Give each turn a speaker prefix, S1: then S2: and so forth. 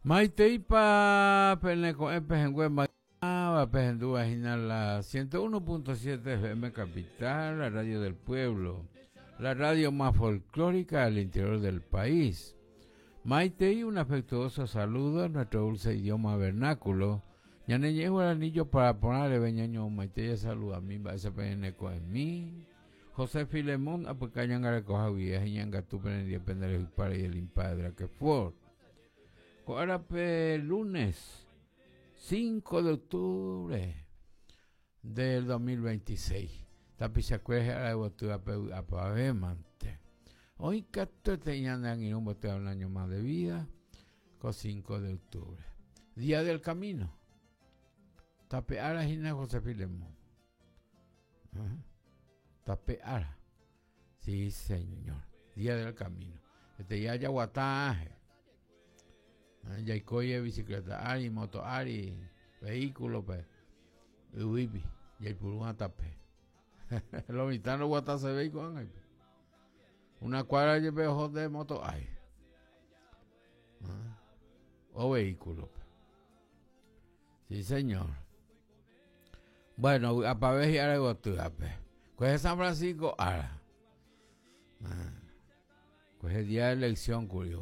S1: Maiteípa pene ko'ẽ pehẽngue maymáva pehendúva hína la 101.7 FM Capital, la radio del pueblo, la radio más folclórica del interior del país. Maitei un afectuoso saludo en nuestro dulce idioma vernáculo. Ñane ñe'ẽ guarani jopara porã reve ñaño maitei jasaludami mba'éicha peẽne ko'ẽmi. José Filemón apyka ñangarekoha guive ha iñangatu penendie pende rehypáre y el impadre Draquefort. Ko árape lunes 5 de octubre del 2026, tapichakuéra hi'ára yvotývape vy'apavẽ mante. Oĩ katuete ñane angirũ mbotyva un año más de vida ko 5 de octubre. Día del Camino. Tape ára hína José Filemón. Tape ára. Sí, señor. Día del camino. Este día jaguata ángel. Jaikói bicicleta ári, moto ári, vehículo pe. Yvýpi, jaipuru tape. Lo mitã no guata se ve ko'ág̃a. Una cuadra jepe oho de moto ári. O vehículo. Sí, señor. Bueno, vy'apave hi'ára yvotývape. Kuehe San Francisco ára. Kuehe día de elección kuri.